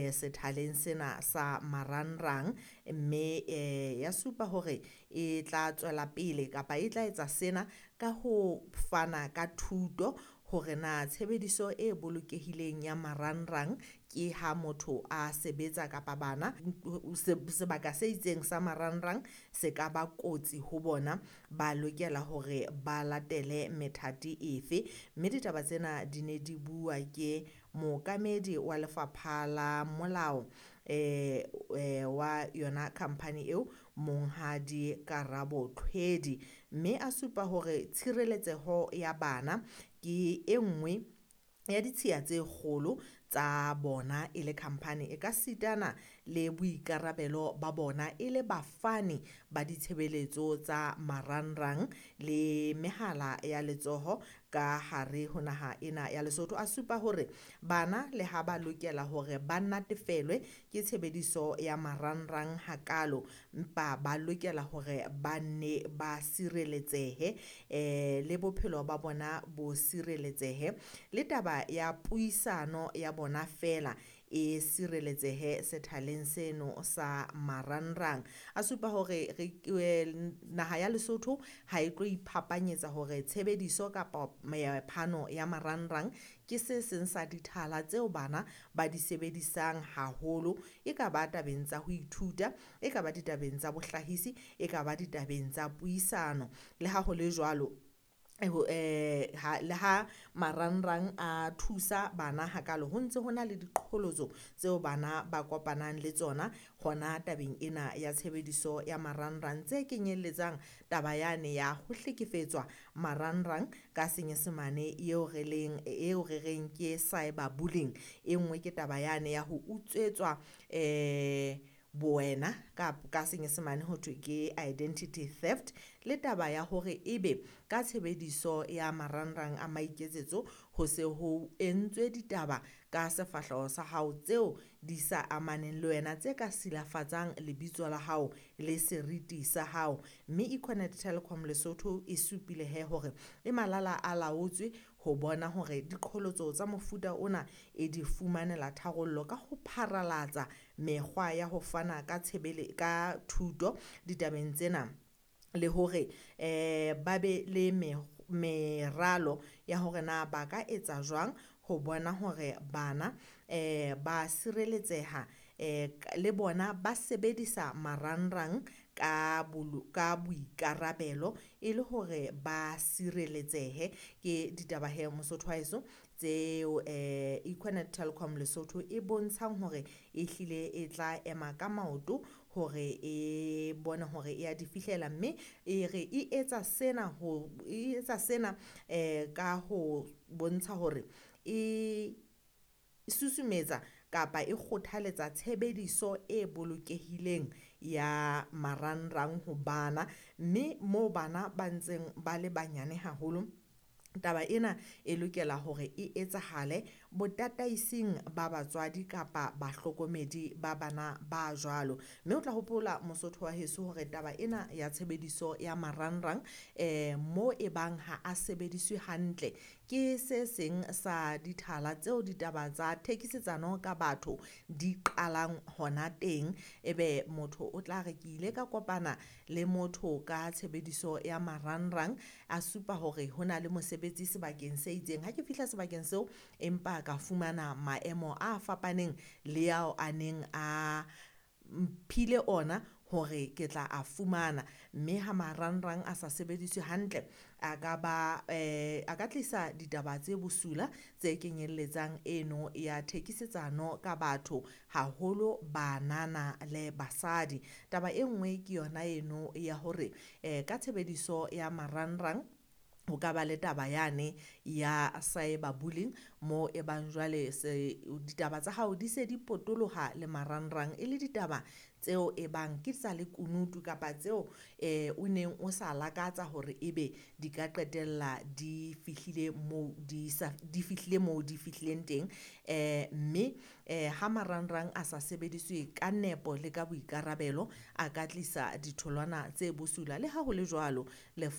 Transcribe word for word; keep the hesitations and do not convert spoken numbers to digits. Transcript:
eh, sethaleng sena sa marangrang, mme eh, ya supa hore e tla tswela pele kapa e tla etsa sena ka ho fana ka thuto hore na tshebediso e bolokehileng ya marangrang ke ha motho a sebetsa kapa bana sebaka se itseng sa marangrang se ka ba kotsi ho bona, ba lokela hore ba latele methati efe. Mme ditaba tsena di ne di bua ke mookamedi wa lefapha la molao eh, eh, wa yona company eo Monghadi Karabo Tlhwedi, mme a supa hore tshireletseho ya bana ke e nngwe ya ditshiya tse kgolo tsa bona e le company e ka sitana le boikarabelo ba bona e le bafani ba ditshebeletso tsa marangrang le mehala ya letsoho ka hare ho naha ena ya Lesotho. A supa hore bana le ha ba lokela hore ba natefelwe ke tshebediso ya marangrang hakalo, empa ba lokela hore ba nne ba sireletsehe eh le bophelo ba bona bo sireletsehe, le taba ya puisano ya bona feela e sireletsehe sethaleng seno sa marangrang. A supa hore re naha ya Lesotho ha e tlo iphapanyetsa hore tshebediso kapa phano ya marangrang ke se seng sa dithala tseo bana ba di sebedisang haholo, e ka ba tabeng tsa ho ithuta, e ka ba ditabeng tsa bohlahisi, e ka ba ditabeng tsa puisano. Le ha ho le jwalo eh ha le ha marangrang a thusa bana hakalo, ho ntse ho na le diqholotso tseo bana ba kopanang le tsona hona tabeng ena ya tshebediso ya marangrang, tse kenyelletsang taba yane ya ho hlekefetswa marangrang ka senyesemane eo re leng eo re reng ke cyber bullying. E nngwe ke taba yane ya ho utswetswa eh bowena ka ka senyesemane ho thwe ke identity theft, le taba ya hore ebe ka tshebediso ya marangrang a maiketsetso ho se ho entswe ditaba ka sefahleho sa hao tseo di sa amaneng le wena, tse ka silafatsang lebitso la hao le seriti sa hao. Mme Econet Telecom Lesotho e supile he hore e malala a laotswe ho bona hore diqholotso tsa mofuta ona e di fumanela tharollo ka ho pharalatsa mekgwa ya ho fana ka tshebele ka thuto ditabeng tsena, le hore eh ba be le meralo ya hore na ba ka etsa jwang ho bona hore bana eh ba sireletseha eh le bona ba sebedisa marangrang ka ka boikarabelo e le hore ba sireletsehe. Ke ditaba he Mosotho wa heso tseo eh Econet Telecom Lesotho e bontshang hore e hlile e tla ema ka maoto hore e bone hore e ya di fihlela, mme e re e etsa sena ho e etsa sena eh ka ho bontsha hore e susumetsa kapa e kgothaletsa tshebediso e bolokehileng ya marangrang ho bana, mme moo bana ba ntseng ba le banyane haholo taba ena e lokela hore e etsahale botataising ba batswadi kapa bahlokomedi ba bana ba jwalo. Mme o tla hopola Mosotho wa heso hore taba ena ya tshebediso ya marangrang eh mo e bang ha a sebediswe hantle ke se seng sa dithala tseo ditaba tsa thekisetsano ka batho di qalang hona teng. Ebe motho o tla re ke ile ka kopana le motho ka tshebediso ya marangrang, a supa hore ho na le mosebetsi sebakeng se itseng, ha ke fihla sebakeng seo empa ka fumana maemo a fapaneng le ao a neng a mphile ona hore ke tla a fumana. Mme ha marangrang a sa sebediswe hantle a ka ba eh a ka tlisa ditaba tse bosula tse kenyelletsang eno ya thekisetsano ka batho haholo banana le basadi. Taba e nngwe ke yona eno ya hore eh ka tshebediso ya marangrang ho ka ba le taba yane ya cyber bullying mo e bang jwale se ditaba tsa hao di se di potoloha le marangrang e le ditaba tseo e bang ke tsa lekunutu kapa tseo eh o neng o sa lakatsa hore ebe di ka qetella di fihlile moo di sa di fihlile moo di fihlileng teng. Eh mme eh ha marangrang a sa sebediswe ka nepo le ka boikarabelo a ka tlisa ditholwana tse bosula. Le ha ho le jwalo le